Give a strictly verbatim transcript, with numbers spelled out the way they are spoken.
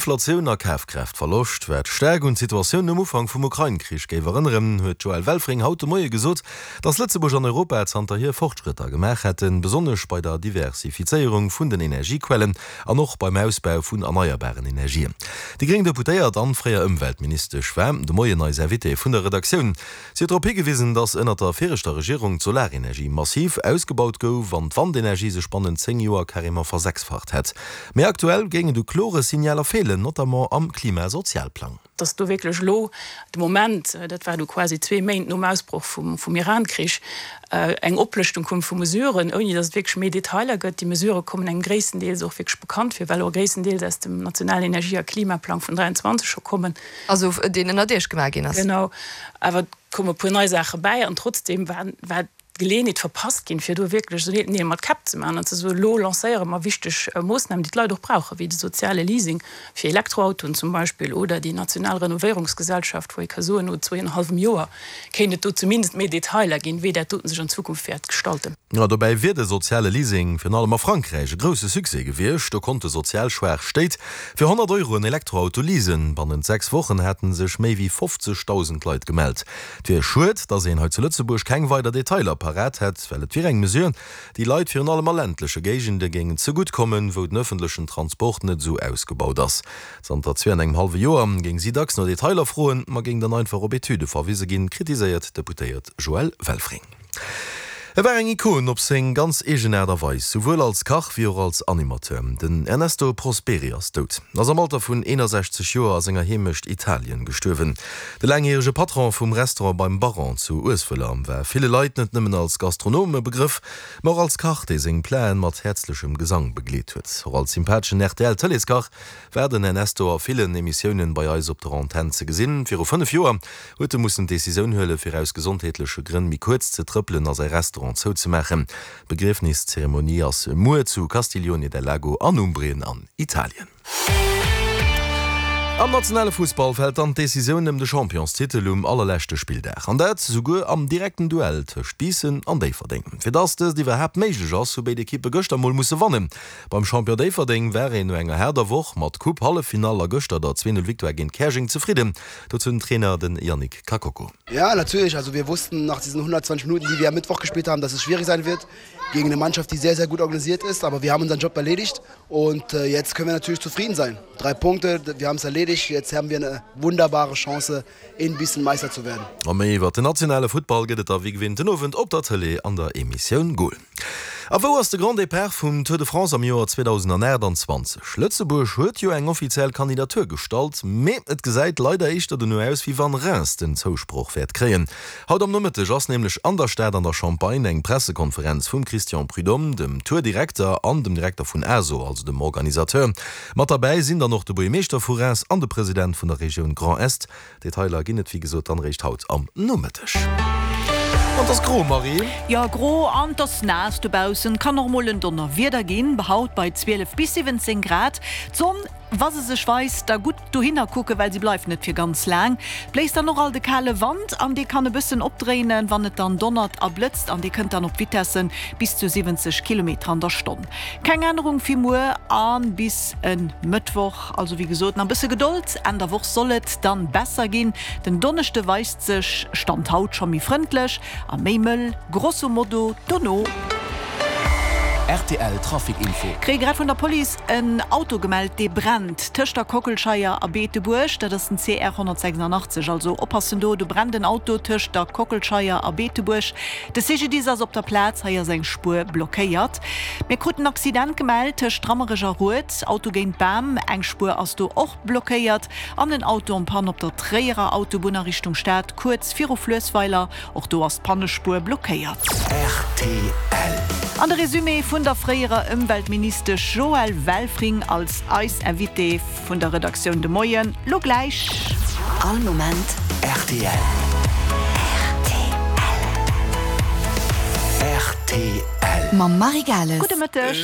Inflatioun a Kafkraaftverloscht, wat staark un d'Situatioun nom Ufank vum Ukrain-Krich géif erënneren, huet d'Joëlle Welfring haut de Moie gesot, datt Lëtzebuerg an Europa zanterhier Fortschrëtter gemaach hätten, besonnesch bei der Diversifizéierung vun den Energiequellen an och beim Ausbau vun erneierbaren Energien. Déi gréng Deputéiert an fréier Ëmweltministesch war de Moien eis Invitée vun der Redaktioun. Si huet drop higewisen, datt ënnert der viregter Regierung d'Solarenergie massiv ausgebaut gouf an d'Wandenergie sech bannent zéng Joer carrément versechsfacht hätt. Mee aktuell géingen do klore Signaler feelen, notamment am Klimasozialplang. Dass do wierklech elo de Moment, dat war du quasi zwee Méint nom Ausbroch vum vum Iran-Krich, eng Oplëschtung koum vu Mesuren, ouni dass et wierklech méi Detailer gëtt. Déi Mesurë kommen engem gréisstendeels och wierklech bekannt vir, well och gréisstendeels aus dem nationalen Energie a Klimaplang vun dräianzwanzeg scho kommen. Also deen ënnert Iech gemaach ginn ass. Genau. Awer et koume e puer nei Saache bäi an trotzdeem war war d'Geleeënheet verpasst ginn, fir do wierklech esou Neel mat Käpp ze maachen an ze soen, elo lancéiere mer wichteg Moossnamen, déi d'Leit och brauchen, wéi de soziale Leasing fir Elektroautoen zum Beispill oder déi national Renovéierungsgesellschaft, wou ee ka soen, no zwee an e hallwem Joer kéint et do zumindest méi Detailer ginn, wéi dat doten sech an Zukunft wäert gestalten. Jo, dobäi wier de soziale Leasing virun allem a Frankräich e grousse Succès gewiescht. Do konnte sozial schwaach Stéit fir honnert Euro en Elektroauto leasen. Bannent sechs Wochen hate sech méi wéi fofzegdausend Leit gemellt. Et wier schued, datt een hei zu Lëtzebuerg keng weider Detailer parat hätt, well et wier eng Mesure, déi Leit virun allem a ländleche Géigende géingen zegutt kommen, wou den ëffentlechen Transport net esou ausgebaut ass. Zanter zwee an engem hallwe Joer géing si dacks no Detailer froen, ma géing dann einfach op Etüde verwise ginn, kritiséiert d'Deputéiert Joëlle Welfring. E war eng Ikon op seng ganz eegen Aart a Weis, souwuel als Kach wéi och als Animateur. Den Ernesto Prosperi ass dout, ass am Alter vun eenasechzeg Joer a senger Heemecht Italien gestuerwen. De laangjärege Patron vum Restaurant Beim Baron zu Ueswëller war ville Leit net nëmmen als Gastronom e Begrëff, ma och als Kach, dee seng Platen mat häerzlechem Gesang begleet huet. Och als sympatheschen R T L-Tëleeskach war den Ernesto a villen Emissiounen bei eis op der Antenn ze gesinn. Viru fënnef Joer huet e mussen d'Decisioun huelen, fir aus gesondheetleche Grënn méi kuerz ze trëppelen a säi Restaurant zouzemaachen. D'Begriefniszeremonie ass muer zu Castiglione del Lago an Umbrien an Italien. Am nationale Fussball fält dann d'Decisioun ëm de Championstitel um allerleschte Spilldag. An dat souguer am direkten Duell tëscht Biissen an Déifferdeng. Fir dass dëst iwwerhaapt méiglech ass, hu béid Ekippe gëschter mol musse wannen. Beim Champion Déifferdeng war een no enger haarder Woch mat Coupe, Halleffinall a gëschter der zwee Null Victoire géint Käerjeng zefridden. Dozou den Trainer, den Yannick Kakoko. Ja, natürlich. Also wir wussten nach diesen hundertzwanzig Minuten, die wir am Mittwoch gespielt haben, dass es schwierig sein wird gegen eine Mannschaft, die sehr, sehr gut organisiert ist. Aber wir haben unseren Job erledigt und äh, jetzt können wir natürlich zufrieden sein. Drei Punkte, wir haben es erledigt. Jetzt haben wir eine wunderbare Chance, in Bissen Meister zu werden. A méi iwwer den nationale Futtball gëtt et da wéi gewinnt den Owend op der Tëlee an der Emissioun Goal. A wou ass de Grand Départ vum Tour de France am Joer zweedausendaachtanzwanzeg? Lëtzebuerg huet jo eng offiziell Kandidatur gestallt, mee et gesäit leider éischter dono aus, wéi wann Reims den Zousproch wäert kréien. Haut am Nomëtteg ass nämlech an der Stad an der Champagne eng Pressekonferenz vum Christian Prudhomme, dem Tour-Direkter an dem Direkter vun A S O, also dem Organisateur. Mat derbäi sinn dann och de Buergermeeschter vu Reims an de President vun der Regioun Grand Est. Detailer ginn et wéi gesot dann réischt haut am Nomëtteg. An et ass gro, Marie. Jo, gro an et ass naass dobaussen. Kann och mol en Donnerwieder ginn. Haut bei zwielef bis siwwenzéng Grad. D'Sonn, wa se sech weist, da gutt dohinner kucken, well si bleift net fir ganz laang. Bléist dann och alt e kale Wand an dee kann e bëssen opdréinen, wann et dann donnert a blëtzt an dee kënnt dann op Vitessen bis zu siwwenzeg Kilometer an der Stonn. Keng Ännerung fir muer a bis e Mëttwoch. Also wéi gesot, nach e bësse Gedold, Enn der Woch soll et dann besser ginn. Den Donneschde weist sech, Stand haut, scho méi frëndlech a méi mëll, grosso modo dono. R T L Trafic Info. Kréie grad vun der Police en Auto gemellt dee brennt tëscht der Kockelscheier a Beetebuerg. Dat ass den C R honnertsechsundachtzeg. Also oppassen do, do brennt en Auto tëscht der Kockelscheier a Beetebuerg. De C G D I S ass op der Plaz, hei ass eng Spuer blockéiert. Mir kruten en Accident gemellt tëscht Rammerech a Rued, Auto géint Bam, eng Spuer ass do och blockéiert. An en Auto en panne op der Tréierer Autobunn a Richtung Stad, kuerz viru Fluessweiler, och do ass d'Pannespuer blockéiert. R T L. An de Resumé vun der fréierer Ëmweltministesch Joëlle Welfring als eis Invitée vun der Redaktioun de Moien, lo gläich. All Moment R T L. R T L. R T L. Mam Marie Gales. Gudde Mëtteg.